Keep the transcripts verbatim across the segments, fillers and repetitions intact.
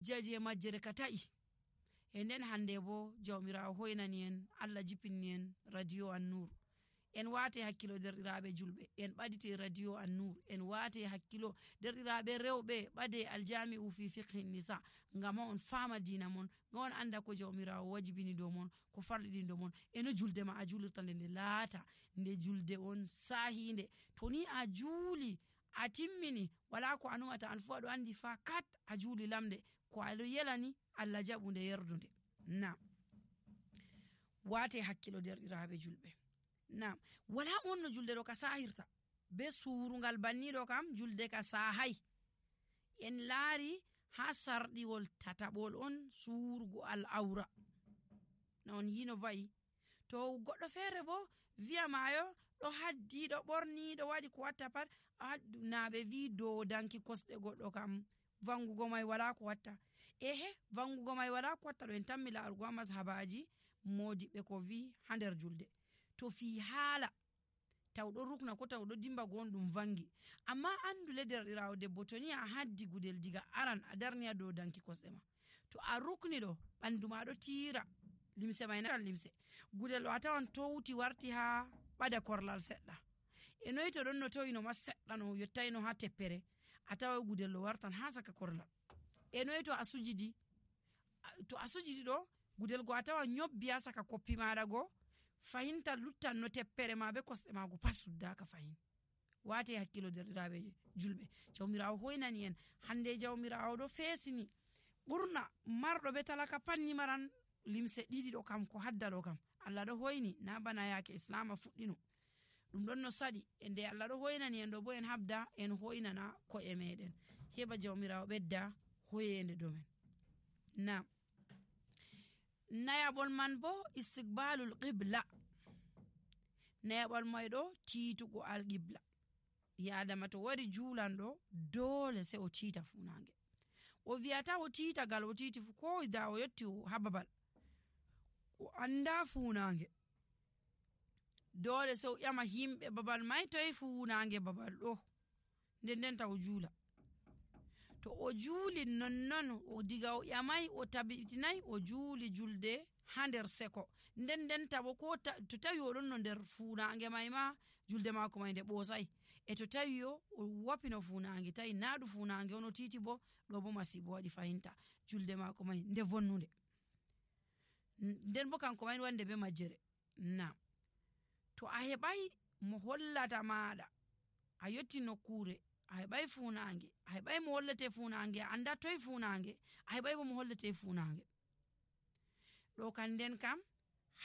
jeje majjere ka ta'i e nden hande bo jawmirawo hoynani en Allah jippini en radio An-Nur en wate hakkilo derɗiraɓe julɓe en ɓadite radio An-Nur en wate hakkilo derɗiraɓe rewɓe ɓade aljami'u fi fiqhi nisa ngam on fama dina mon ngam on anda ko jawmirawo wajibini do mon ko farɗiɗi do mon eno julde ma a julirta nde laata nde julde on sahinde to ni a juuli a timmini wala ko anumata an fu aɗo andi fa kat a juuli lamde ko aɗo yelani Allah jaɓunde yerdunde. Naam, wate hakkilo derɗiraɓe julɓe. Naam, wala on no julde ɗo ka sahirta be surungal banniɗo kam julde ka sahay. En laari ha sarɗiwol tataɓol on surugo al awra na on yino vayi to goɗɗo feere bo wiya mayo ɗo haddi ɗo ɓorni ɗo waɗi ko watta pat naɓe wi dodanki kosɗe goɗɗo kam vangugo mai wala ko watta. Ehe, vangugo mai wala ko watta ɗo en tammi laarugo ha mashabaji modiɓe ko wi ha nder julde to fi haala taw ɗo rukna ko taw ɗo dimba gonɗum vangi amma andule derɗirawo debbo to ni a haddi gudel diga aran a darniya dow danki kosɗe ma to a rukni ɗo ɓandu ma ɗo tira limse mai na limse gudel ɗo a tawan towti warti ha ɓada korlal seɗɗa e noyi to ɗon no toyino ma seɗɗa no yottayno ha teppere a tawa gudel ɗo wartan ha saka korlal e noyi to a sujidi to a sujidi ɗo gudel go a tawa nyobbi ha saka koppi maɗa go fahinta luttan no teppere ma be kosɗe mago pat suddaka fahin. Wate hakkilo derɗiraɓe julɓe jawmirawo hoynani en hande jawmirawo ɗo fesini ɓurna marɗo be talaka panni maran limse ɗiɗi ɗo kam ko hadda ɗo kam Allah ɗo hoyni na bana yake islama fuɗɗino ɗum ɗon no saɗi e nde Allah ɗo hoynani en ɗo bo en habda en hoynana ko'e meɗen heɓa jawmirawo ɓedda hoyende domen. Naam, nayaɓol man bo istiqbalul qibla nayaɓol may ɗo tiitugo al qibla yadama to wari juulanɗo dole se o tiita funange o wiyata o tiita gal o tiiti fu ko da o yetti ha babal o anda funange dole se o ƴama himɓe babal may toye funange babal ɗo nden nden taw juula to o juuli nonnon o diga o ƴamay o tabitinayi o juuli julde ha nder seko nden nden tabo ko ta, to tawi oɗon no nder funange may ma julde mako may nde ɓosay e to tawi o o wapino funange tawi naɗu funange ono titi bo ɗo bo masibo waɗi fahinta julde mako may nde vonnude nden bo kanko may wande be majjere. Naam, to a heɓay mo hollata maɗa a yotti nokkure a heɓay funange a heɓay mo hollete funange a anda toye funange a heɓay bo mo hollete funange ɗo kan nden kam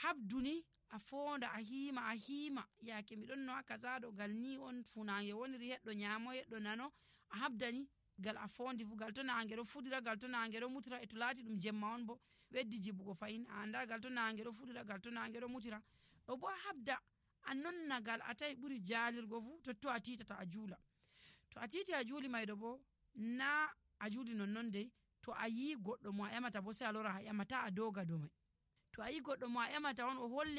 habduni a fonda a hima a hima yake miɗon no kaza ɗo gal ni on funange woniri heɗɗo nyamo heɗɗo nano a habdani gal a fondi fu gal to nange ɗo fuɗira gal to nange ɗo mutira e to laati ɗum jemma on bo weddi jibugo fayin a anda gal to nange ɗo fuɗira gal to nange ɗo mutira ɗo bo habda a nonna gal a tawi ɓuri jalirgo fu totto a titata a juula to a titi a juuli mayɗo bo na a juuli nonnon dey to a yi goɗɗo mo a ƴamata bo sai a lora a ƴamata a doga do mai to a yi goɗɗo mo a ƴamata on o holli